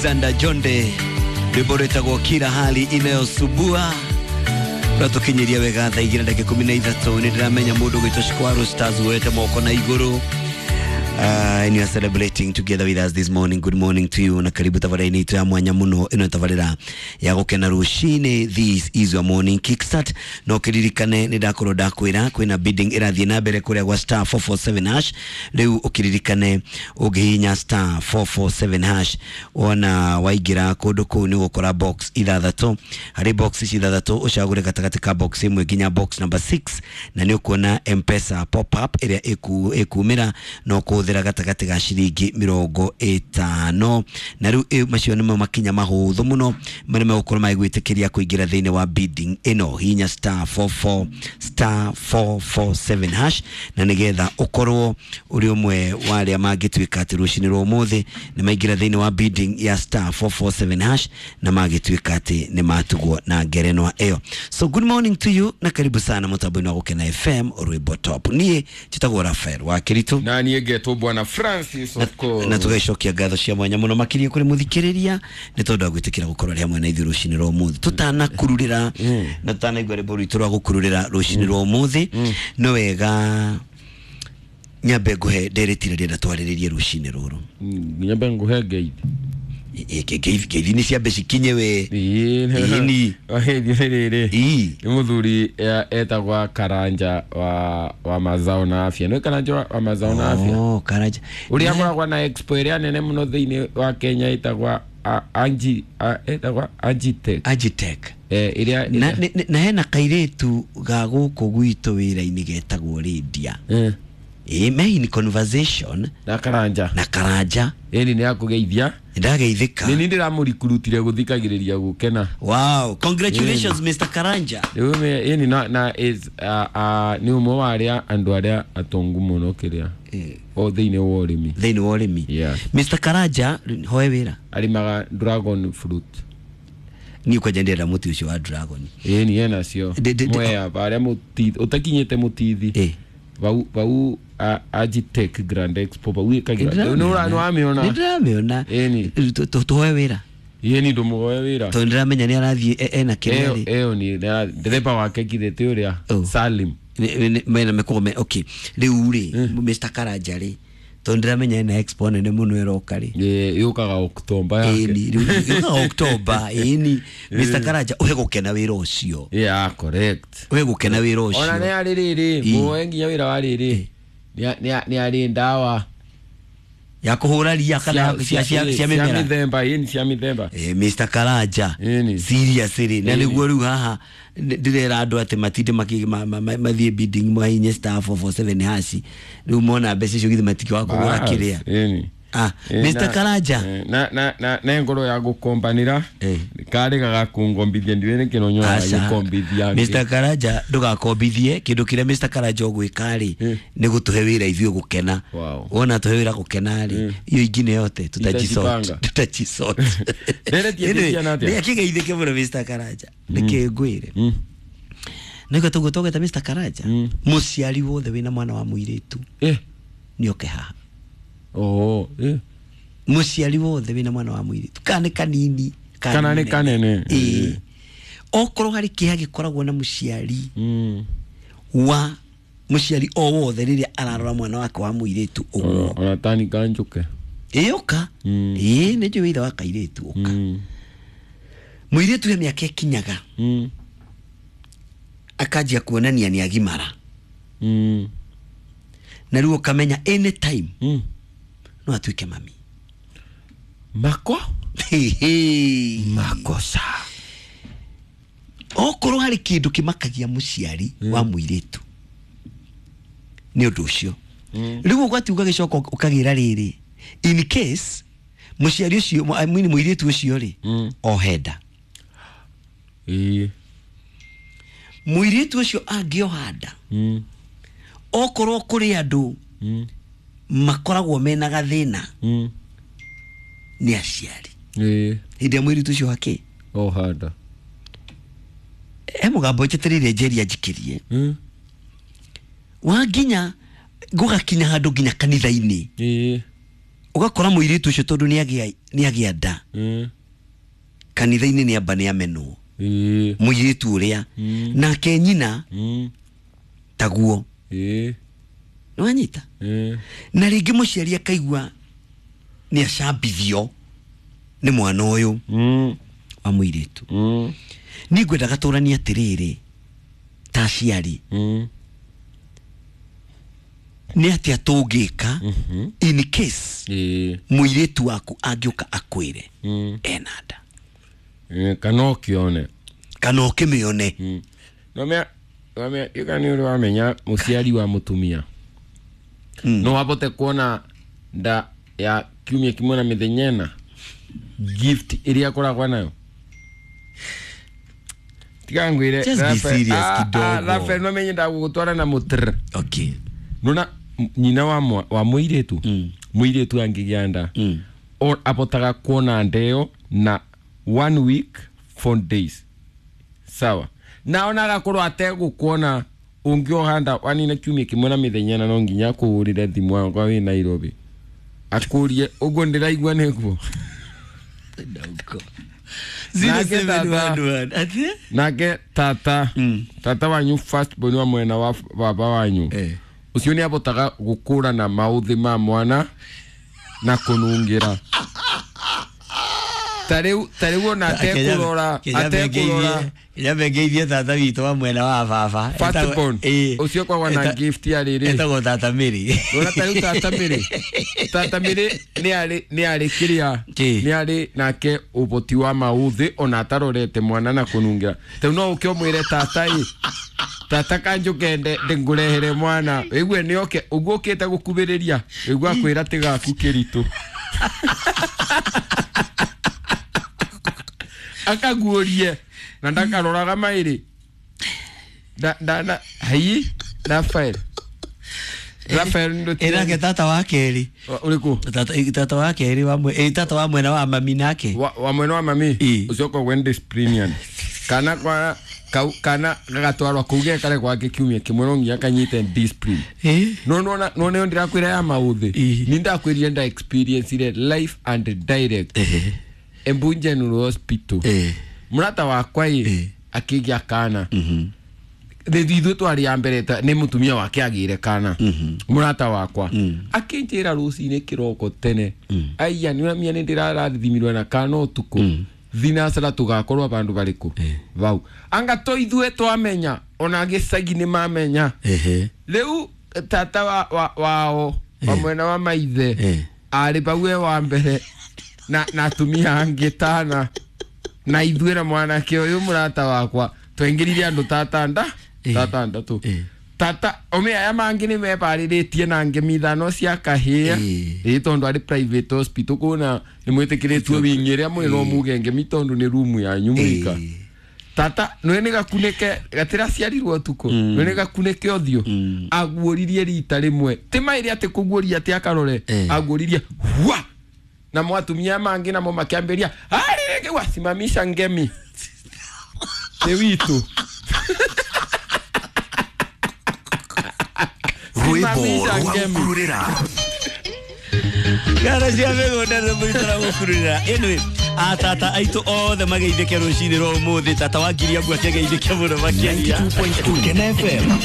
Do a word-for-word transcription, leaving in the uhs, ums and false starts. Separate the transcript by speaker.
Speaker 1: Alexander Jonde rwimbo rwĩtagwo kila hali inayosubua rwatũkinyĩria wega thaa igĩrĩ na ndagĩka ikũmi na ithatũ. Nĩ ndĩramenya mũndũ ũgwĩtwo Shikwaru Stars woete moko na igũrũ. Uh, and you are celebrating together with us this morning. Good morning to you. Na karibu tabarĩra-inĩ itũ ya mwanya mũno ĩno tabarĩra ya gũkena rũcinĩ. This is your morning kickstart. No kĩririkane nĩ ndakorwo ndakwĩra kwĩna bidding ĩrathiĩ na mbere kũrĩa gwa star four four seven hash. Rĩu ũkĩririkane ũngĩhihinya star four four seven hash wona waingĩra kũndũ kũu nĩ ũgũkora box ithathatũ. Harĩ box ici ithathatũ ũcagũre gatagatĩ ka box ĩmwe nginya box number six na nĩ ũkuona M-Pesa pop up ĩrĩa ĩku- ĩkumĩra na ũkũhũthĩra gatagatĩ ga ciringi mĩrongo ĩtano. Na rĩu ĩ- macio nĩmo makinya mahũthũ mũno marĩa megũkorwo magĩgwĩtĩkĩria kũingĩra thĩinĩ wa bidding ĩno. Hihinya star four four star four four seven hash na nĩgetha ũkorwo ũrĩ ũmwe wa arĩa mangĩtuĩka atĩ rũcinĩ rwa ũmũthĩ nĩ maingĩra thĩinĩ wa bidding ya star four four seven hash na magĩtuĩka atĩ nĩ matugwo na ngerenwa ĩyo. So good morning to you na karibu sana mũtambo-inĩ wa Gũkena F M rwĩmbo top. Niĩ njĩtagwo Rafael wa Kĩritũ
Speaker 2: na niĩ ngetwo Bwana Francis of course.
Speaker 1: Na tũgaicokia ngatho cia mwanya mũno makĩria kũrĩ mũthikĩrĩria nĩ tondũ wa gwĩtĩkĩra gũkorwo arĩ hamwe na ithuĩ rũcinĩ rwa ũmũthĩ. Tũtanakururĩra na tũtanaigua rwĩmbo rwitũ rwa gũkururĩra rũcinĩ rwa ũmũthĩ, nĩ wega nyambe ngũhe ndereti ĩrĩa ndĩrenda twarĩrĩrie rũcinĩ rũrũ.
Speaker 2: Nyambe ngũhe ngeithi.
Speaker 1: Ngeithi nĩ ciambe cikinye we.
Speaker 2: Ĩĩ,
Speaker 1: Ĩni.
Speaker 2: Ngeithi nĩ rĩrĩ.
Speaker 1: Ĩĩ.
Speaker 2: Nĩ mũthuri etagwa Karanja wa, wa mazao na afya. Nĩ Karanja wa, wa mazao na afya.
Speaker 1: Oh, Karanja.
Speaker 2: Ũrĩa akoragwo na expo ĩrĩa nene mũno thĩinĩ wa Kenya ĩtagwa Anji, ĩtagwa Agitech.
Speaker 1: Agitech.
Speaker 2: Eh, ĩrĩa,
Speaker 1: Na, na, na hena kairĩtu ga gũkũ gwitũ wĩra-inĩ getagwo Lydia.
Speaker 2: Eh.
Speaker 1: Ĩĩ, me in conversation
Speaker 2: na Karanja.
Speaker 1: Na Karanja.
Speaker 2: Ĩni nĩ akũgeithia.
Speaker 1: Ndageithĩka.
Speaker 2: Nĩ niĩ ndĩramũrikurutire gũthikagĩrĩria gũkena.
Speaker 1: Wow, congratulations Mister Karanja.
Speaker 2: Rĩu me, ĩni na, na is, uh, uh, nĩ ũmwe wa arĩa andũ arĩa atongu mũno kĩrĩa. O thĩinĩ wa ũrĩmi.
Speaker 1: Thĩinĩ wa ũrĩmi.
Speaker 2: Yeah.
Speaker 1: Mister Karanja, hoe wĩra.
Speaker 2: Arĩmaga dragon fruit.
Speaker 1: Niĩ kwanja ndĩrenda mũtĩ ũcio wa dragon.
Speaker 2: Ĩni ena cio.
Speaker 1: Ndĩ, ndĩ, ndĩ,
Speaker 2: Mwea, harĩa mũtithi, ũtakinyĩte mũtithi.
Speaker 1: Ĩ.
Speaker 2: Vau, vau, a, Agitech Grand Expo, vau ĩkagĩra. Nĩ ũra-, nĩ wamĩona?
Speaker 1: Nĩ ndĩramĩona.
Speaker 2: Ĩni.
Speaker 1: Tũ-, tũ-, tũhoe wĩra.
Speaker 2: Ĩni ndũmũhoe wĩra.
Speaker 1: Tondũ ndĩramenya nĩ arathiĩ e-, ena kĩrĩa rĩ.
Speaker 2: Ĩyo, ĩyo nĩ, ndereba wake kithĩ ti ũrĩa?
Speaker 1: Oh.
Speaker 2: Salim.
Speaker 1: Nĩ, nĩ, mena mĩkũgũ me, okay. Rĩu rĩ, Mister Karanja rĩ, tondũ ndĩramenya ena expo nene mũno ĩroka rĩ.
Speaker 2: Ĩ, yũkaga October yake.
Speaker 1: Ĩni, rĩu yũkaga October, ĩni. Mister Karanja, ũhe gũkena wĩra ũcio.
Speaker 2: Yeah, correct.
Speaker 1: Ũhe gũkena wĩra ũcio.
Speaker 2: Ona nĩ arĩ rĩrĩ,
Speaker 1: Ĩ.
Speaker 2: mũoe nginya wĩra wa rĩrĩ. Nĩ, nĩ, nĩ arĩ ndawa.
Speaker 1: Ya kũhũra ria kana
Speaker 2: Cia,
Speaker 1: cia, cia,
Speaker 2: cia,
Speaker 1: cia mĩmera.
Speaker 2: cia mĩthemba, ĩni cia mĩthemba.
Speaker 1: Eh, Mister Karanja.
Speaker 2: Ĩni.
Speaker 1: Seriously, na
Speaker 2: Ĩni.
Speaker 1: nĩguo rĩu haha ndĩrera andũ atĩ matinde maki-, ma-, ma-, ma-, mathiĩ bidding mahinye star four four seven hash. Rĩu mona mbeca icio githĩ matikĩwaga kũgũra
Speaker 2: Bas,
Speaker 1: kĩrĩa.
Speaker 2: ĩni.
Speaker 1: Ah,
Speaker 2: Eh,
Speaker 1: Mister
Speaker 2: na,
Speaker 1: Karanja.
Speaker 2: eh, na, na, na, na ngoro ya gũkombanĩra,
Speaker 1: Eh.
Speaker 2: karĩ gagakungombithia, ndiũĩ nĩkĩ no nyonaga
Speaker 1: Aca.
Speaker 2: gĩkombithia angĩ.
Speaker 1: Mister Karanja, ndũgakombithie, kĩndũ kĩrĩa Mister Karanja ũgwĩka rĩ,
Speaker 2: Eh.
Speaker 1: nĩ gũtũhe wĩra ithuĩ gũkena.
Speaker 2: Wow.
Speaker 1: Wona tũhe wĩra gũkena rĩ,
Speaker 2: Eh.
Speaker 1: iyo ingine yote tutajisort.
Speaker 2: Itajipanga.
Speaker 1: Tutajisort.
Speaker 2: Nderetie
Speaker 1: Anyway,
Speaker 2: tĩciana atĩa?
Speaker 1: nĩ akĩgeithĩke mũno Mister Karanja. Nĩkĩ ngwĩre?
Speaker 2: Mm.
Speaker 1: Nĩguo tũguo tũgwĩta Mister Karanja?
Speaker 2: Mm.
Speaker 1: Mũciari wothe wĩna mwana wa mũirĩtu.
Speaker 2: Eh.
Speaker 1: Nĩoke haha.
Speaker 2: Oh, eh.
Speaker 1: Mũciari wothe wĩna mwana wa mũirĩtu. Kana nĩ kanini,
Speaker 2: kana Kana nĩ kanene.
Speaker 1: Ĩĩ. Okorwo harĩ kĩeha gĩkoragwo na mũciari
Speaker 2: Mm.
Speaker 1: wa mũciari o wothe rĩrĩa ararora mwana wake wa mũirĩtu ũguo.
Speaker 2: Ona, ona tani kanjũke.
Speaker 1: Ĩĩ, ũka.
Speaker 2: Mm.
Speaker 1: Ĩĩ, nĩ njũĩ ithe wa kairĩtu, ũka.
Speaker 2: Mm.
Speaker 1: Mũirĩtu he mĩaka ĩkinyaga.
Speaker 2: Mm.
Speaker 1: Akanjia kuonania nĩ agimara.
Speaker 2: Mm.
Speaker 1: Na rĩu ũkamenya anytime
Speaker 2: Mm.
Speaker 1: no atuĩke mami.
Speaker 2: Mako?
Speaker 1: Hehe.
Speaker 2: Makosa.
Speaker 1: Okorwo harĩ kĩndũ kĩmakagia mũciari
Speaker 2: Mm.
Speaker 1: wa mũirĩtu nĩ ũndũ ũcio.
Speaker 2: Mm.
Speaker 1: Rĩu ũgwati ũgagĩcoka ũkagĩra rĩrĩ, in case mũciari ũcio, mũ-, I mean mũirĩtu ũcio rĩ,
Speaker 2: Mm.
Speaker 1: ohe nda.
Speaker 2: Ĩĩ.
Speaker 1: Mũirĩtu ũcio angĩoha nda,
Speaker 2: Mm.
Speaker 1: okorwo kũrĩ andũ
Speaker 2: Mm.
Speaker 1: makoragwo mena gathĩna,
Speaker 2: Mm.
Speaker 1: nĩ aciari.
Speaker 2: Ĩĩ.
Speaker 1: Hĩndĩ ĩrĩa mũirĩtu ũcio akĩ?
Speaker 2: Oha nda.
Speaker 1: He mũgambo njetereire njeria njikĩrie.
Speaker 2: Mm.
Speaker 1: Wa nginya gũgakinya handũ nginya kanitha-inĩ.
Speaker 2: Ĩĩ.
Speaker 1: Ũgakora mũirĩtu ũcio tondũ nĩagĩa nĩagĩa nda
Speaker 2: Mm.
Speaker 1: kanitha-inĩ nĩamba nĩamenwo
Speaker 2: Ĩĩ.
Speaker 1: mũirĩtu ũrĩa
Speaker 2: Mm.
Speaker 1: nake nyina
Speaker 2: Mm.
Speaker 1: taguo
Speaker 2: Ĩĩ.
Speaker 1: nĩwanyita
Speaker 2: Ĩĩ.
Speaker 1: na rĩngĩ mũciari akaigua nĩ acambithio nĩ mwana ũyũ
Speaker 2: Mm.
Speaker 1: wa mũirĩtu
Speaker 2: Mm.
Speaker 1: niĩ ngwendaga tũranie atĩrĩrĩ ta aciari
Speaker 2: Mm.
Speaker 1: nĩ atĩa tũngĩka
Speaker 2: Mhm.
Speaker 1: in case
Speaker 2: Ĩĩ.
Speaker 1: mũirĩtu waku angĩũka akwĩre
Speaker 2: Mm.
Speaker 1: ena nda
Speaker 2: Ĩĩ, kana ũkĩone
Speaker 1: kana ũkĩmĩone
Speaker 2: Mm. Nomea nomea ika nĩ ũrĩ wamenya mũciari wa mũtumia
Speaker 1: Mm.
Speaker 2: no abote kuona nda ya kiumia kimwe na mĩthenya ĩna gift ĩrĩa akoragwo nayo tiga ngwĩre
Speaker 1: Just be
Speaker 2: Rafael-
Speaker 1: serious
Speaker 2: Ah, ah,
Speaker 1: kidogo.
Speaker 2: Rafael no menye ndagũgũtwara na mũtr
Speaker 1: okay
Speaker 2: nona nyina wa mwa- wa mũirĩtu
Speaker 1: Mm.
Speaker 2: mũirĩtu angĩgĩa nda
Speaker 1: Mm.
Speaker 2: o- abotaga kuona ndeo na one week four days sawa na ona agakorwo ategũkuona ũngĩoha nda wanina kiumia kĩmwe na mĩthenya ĩna no nginya akũhũrĩre thimũ wakwa wĩ Nairobi akũrie ũguo ndĩraigua nĩguo
Speaker 1: Ndauko.
Speaker 2: Nake
Speaker 1: Zero seven
Speaker 2: tata.
Speaker 1: one one. Ati?
Speaker 2: nake tata
Speaker 1: Mm.
Speaker 2: tata wanyu first born wa mwena wa baba wanyu
Speaker 1: Eh.
Speaker 2: ũcio nĩ abotaga gũkũrana maũthĩ ma mwana na kũnungĩra tarĩu tarĩu ona atekũrora atekũrora
Speaker 1: Kenya tata witũ wa mwena wa baba
Speaker 2: First born. Ũcio kwagwa na gift ya rĩrĩ.
Speaker 1: etagwo tata Mary
Speaker 2: Ndona tarĩu tata Mary tata Mary nĩ arĩ nĩ arĩ kĩrĩa
Speaker 1: Kĩ?
Speaker 2: nĩ arĩ nake ũboti wa maũthĩ ona atarorete mwana na kũnungĩra tarĩu no ũke ũmwĩre tata ĩ tata kanjũke nde ngũrehere mwana wĩgue nĩ oke ũguo ũkĩte gũkubĩrĩria wĩgue akwĩra tigaku kĩritũ akaguũrie na ndakaroraga maĩrĩ nda nda na hai Rafael Rafael
Speaker 1: ĩnake tata wa kerĩ
Speaker 2: ũrĩkũ
Speaker 1: tata tata wa kerĩ wa mwe eh, tata wa mwena wa mami nake
Speaker 2: wa, wa mwena wa mami
Speaker 1: Ĩ.
Speaker 2: ũcio ũkoragwo nĩ disciplinarian kana kwa kau kana gagatwarwo kũu gekare gwake kiumia kĩmwe no nginya kanyite discipline
Speaker 1: Eh?
Speaker 2: no nona no nĩyo ndĩrakwĩra ya maũthĩ
Speaker 1: Ĩ.
Speaker 2: ni ndakwĩrire nda experience ire life and direct
Speaker 1: Eh.
Speaker 2: Embu General Hospital
Speaker 1: Eh.
Speaker 2: mũrata wakwa ĩ
Speaker 1: Ĩ.
Speaker 2: akĩgĩa kana
Speaker 1: Mhm.
Speaker 2: rĩu ithuĩ twarĩ a mbere ta- nĩ mũtumia wake agĩire kana mũrata wakwa akĩnjĩra rũcinĩ kĩroko tene aiya nĩ ũramia nĩ ndĩrarathimirwo na kana ũtukũ thinacara tũgakorwo bandũ barĩkũ vau anga to ithuĩ twamenya ona gĩcagi nĩ mamenya
Speaker 1: Ehe.
Speaker 2: rĩu tata wa, wa, wao wa mwena wa maithe
Speaker 1: Eh.
Speaker 2: arĩ vau e wa mbere na na atumia angĩ tana na ithuĩ na mwanake ũyũ mũrata wakwa twaingĩrire andũ tatanda
Speaker 1: Eh.
Speaker 2: tatandatũ
Speaker 1: Eh.
Speaker 2: tata ome aya mangĩ nĩ mebarĩrĩtie na ngemi ithano cia kahĩa
Speaker 1: Eh.
Speaker 2: ĩ tondũ arĩ private hospital kũna nĩ mwĩtĩkĩrĩtio wingĩ ĩrĩa mwĩ no muge ngemi tondũ nĩ rumu yanyu mwika
Speaker 1: Eh.
Speaker 2: tata nwe nĩ gakunĩke gatĩraciarirwo ũtukũ nwe nĩ gakunĩke ũthiũ aguũririe rita rĩmwe ti maĩrĩ atĩ kũguũria atĩ akarore
Speaker 1: Eh.
Speaker 2: aguũririe hwa na mwatumia mangĩ namo makĩambĩria arĩrĩke wasimamisha ngemi nĩ witũ
Speaker 3: Rwĩmbo
Speaker 2: Simamisha
Speaker 3: rwa
Speaker 2: ngemi.
Speaker 3: gũkururĩra
Speaker 1: Ngara cia mĩgũnda nĩ mũitara gũkururĩra anyway atata aitũ othe mageithĩke rũcinĩ rwa ũmũthĩ tata wa ngiria ngu akĩgeithĩke mũno makĩria
Speaker 3: ninety two point two Kena F M